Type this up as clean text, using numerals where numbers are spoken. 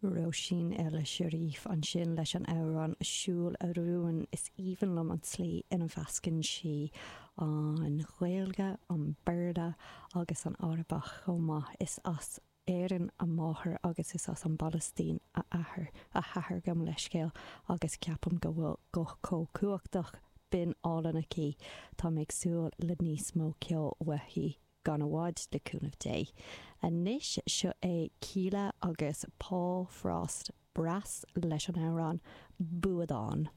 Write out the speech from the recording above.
Róisín El Sherif ansin leis an amhrán 'Siúil a Rúin'. Is aoibhinn liom an tslí ina mheascann sí an Ghaeilge, an Béarla agus an Arabach chomh maith. Is as Éirinn a máthair agus is as an bPalaistín a athair, a hathair gabh mo leithscéal, agus ceapaim go bhfuil guth chomh cumhachtach, binn álainn aici. Tá mé ag súil le níos mó ceoil uaithi. gan i bhfad, le cúnamh Dé. Anois, seo é Kíla agus Paul Frost Brass leis an amhrán 'Buadán'.